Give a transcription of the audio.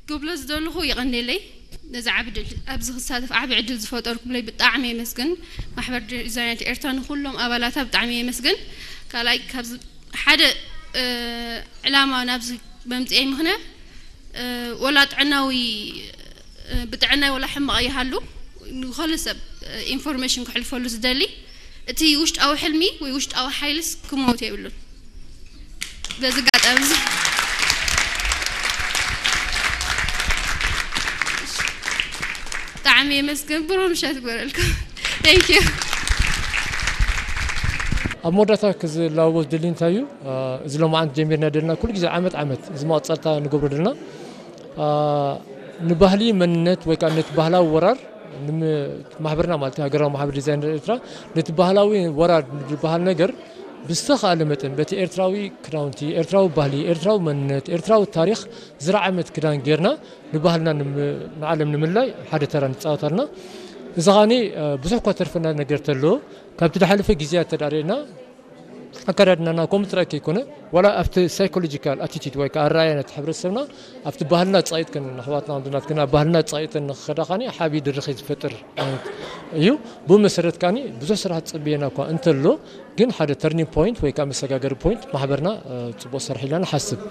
ክብሎ ዝደለኹ፣ ይቐንየለይ ነዚ ዓቢ ድል፣ ኣብዚ ክሳተፍ ዓቢ ዕድል ዝፈጠርኩምለይ ብጣዕሚ የመስግን። ማሕበር ዲዛይነር ኤርትራ ንኹሎም ኣባላታ ብጣዕሚ የመስግን። ካልኣይ፣ ካብዚ ሓደ ዕላማ ናብዚ መምፅኤ ምኽንያት፣ ወላ ጥዕናዊ፣ ብጥዕናይ ወላ ሕማቕ ይሃሉ፣ ንኸሉ ሰብ ኢንፎርሜሽን ክሕልፈሉ ዝደሊ፣ እቲ ውሽጣዊ ሕልሚ ወይ ውሽጣዊ ሓይልስ ክመውት የብሉን። በዚ ኣጋጣሚ እዚ ብጣዕሚ የመስግን። ብሩህ ምሸት ይግበረልኩም። Thank you። ኣብ መወዳእታ ክዝላወቦ ዝደሊ እንታይ እዩ? እዚ ሎማዓንቲ ጀሚርና ደልና ኩሉ ግዜ ዓመት ዓመት እዚ መቐፀልታ ንገብሮ ደልና ንባህሊ መንነት ወይ ከዓ ነቲ ባህላዊ ወራር ማሕበርና ማለት ሃገራዊ ማሕበር ዲዛይነር ኤርትራ ነቲ ባህላዊ ወራር ዝበሃል ነገር ብዝተኻእለ መጠን በቲ ኤርትራዊ ክዳውንቲ፣ ኤርትራዊ ባህሊ፣ ኤርትራዊ መንነት፣ ኤርትራዊ ታሪኽ ዝረዓመት ክዳን ጌርና ንባህልና ንዓለም ንምልላይ ሓደ ተራ ንፃወት ኣለና። እዚ ኸዓኒ ብዙሕ እኳ ተርፈና ነገር ተሎ ካብቲ ዝሓለፈ ግዜያት ተዳሪእና ኣከዳድናና ከምኡ ጥራይ ከይኮነ ዋላ ኣብቲ ሳይኮሎጂካል ኣቲቲድ ወይ ከዓ ኣረኣእያ ነቲ ሕብረተሰብና ኣብቲ ባህልና ፃይጥክን ንኣሕዋትና ወንድናትክን ኣብ ባህልና ፃይጥን ንክኸዳ ኸዓኒ ዓብዪ ድርኺት ዝፈጥር ዓይነት እዩ። ብኡ መሰረት ከዓኒ ብዙሕ ስራሕ ዝፅበየና እኳ እንተሎ ግን ሓደ ተርኒንግ ፖይንት ወይ ከዓ መሰጋገሪ ፖይንት ማሕበርና ፅቡቕ ሰርሕ ኢልና ንሓስብ።